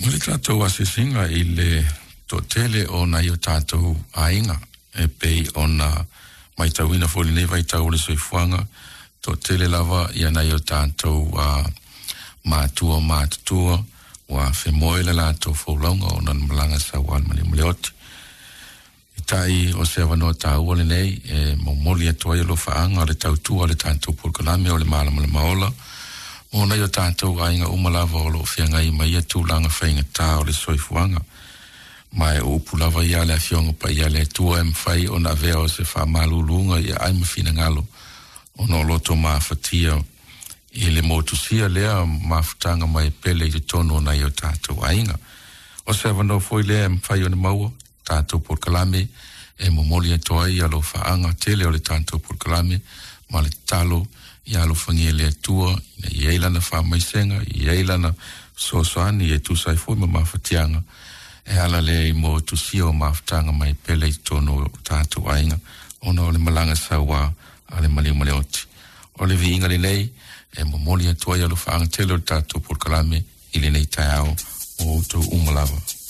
Mai le tatou asiasiga i le toatele o nai o tatou aiga e pei ona matauina foi i lenei vaitau o le soifuaga, toatele lava ia nai o tatou matua matutua ua femoe le latou folauga ona na malaga sauā i le maliu ma le oti. Peitai o se avanoa taua lenei e momoli atu ai alofaaga o le tautua a le tatou polokalame o le Malamalama Ola mo nai o tatou aiga uma lava o lo o feagai ma ia tulaga faigata o le soifuaga. Ma e o upu lava ia a le Afioga Paia a le Atua e mafai ona avea o se faamaluluga i aai ma finagalo ona o loto mafatia i le motusia lea mafutaga mai pele i totonu o nai o tatou aiga. O se avanoa foi lea e mafai ona maua tatou polokalame e momoli atu ai alofaaga tele o le tatou polokalame ma le tatalo ia alofagia e le Atua ina ia i ai lana faamaisega, ia i ai lana fesoasoani e tusa ai foi ma mafatiaga e ala lea i motusia o mafutaga mai pele i totonu o tatou aiga ona o le malaga sauā a le maliu ma le oti. O le viiga lenei e momoli atu ai alofaaga tele o le tatou polokalame i lenei taeao o outou uma lava.